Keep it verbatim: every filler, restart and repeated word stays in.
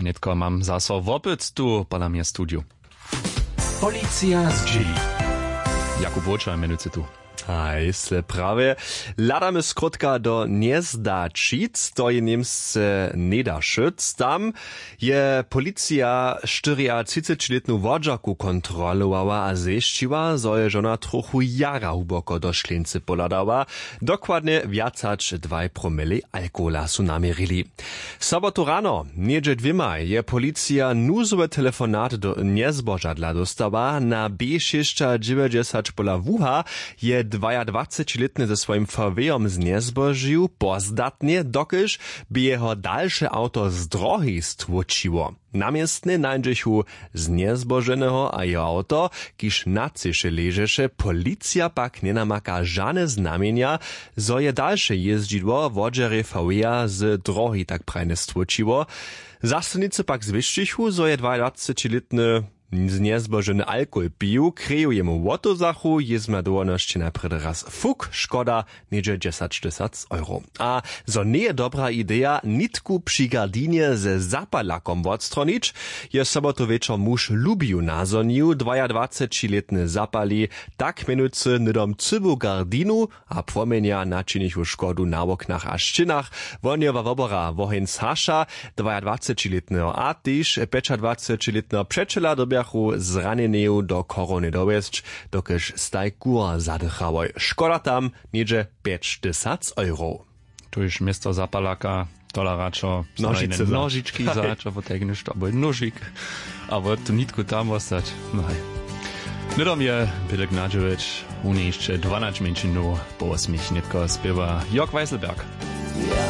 Nětko mam zaso wopyt tu pola mnje studiju. Policija zdźěli. Jakub Wočer mjenujcy tu. Haj sle prawje. Hladamy skrótka do njezdaćic, to je němsce njedašyc. Tam je policija štyriatřicećilětnu wodźerku kontrolowała a zwěsćiła, zo je žona trochu jara hłuboko do šleńcy pohladała. Dokładnje wjac hač dwaj promili alkohola su naměrili. Sobotu rano něhdźe dwěmaj je policija nuzowy telefonat do njezbožadla dóstała. Na b šěsćadźewjećdźesać pola wuha je dwajadwacećilětny ze swojim fawejom znjezbožił pozdatnje, dokelž by jeho dalše awto z drohi stłóčiło. Na městnje nańdźechu znjezboženeho a jeho awto, kiž na třěše ležeše. Policija pak njenamaka žane znamjenja, zo je dalše jězdźidło wodźerje faweja z drohi tak prajnje stłóčiło. Zastojnicy pak zwěsćichu, zo je dwajadwacećilětny znjezboženy alkohol pił, kreju jemu wotozachu jězbna dołhonosće najprjedy raz fuk škoda něhdźe dźesaćtysac euro. A zo njeje dobra ideja nitku při gardinje ze zapalakom wotstronić, je sobotu wječor muž lubiju nazhonił dwajadwacećilětny zapali tak mjenujcy hnydom cyłu gardinu a płomjenja načinichu škodu na woknach a šćěnach. Wohnjowa wobora woheń zhaša dwajadwacećilětneho a tež pjećadwacećilětneho přećela dyrbjachu zranjeneju do chorownje dowjesć, dokelž staj kur zadychałoj. Škoda tam něhdźe pjećtysac euro. Tuž město zapalaka tola radšo nožički za čo potajkneš to abo nóžik abo tu nitku tam wostać. No haj. Hnydom je bělek nadźěłeć. Wón je hišće dwanać mjeńšinow po wosmich nětko spěwa jörg weiselberg.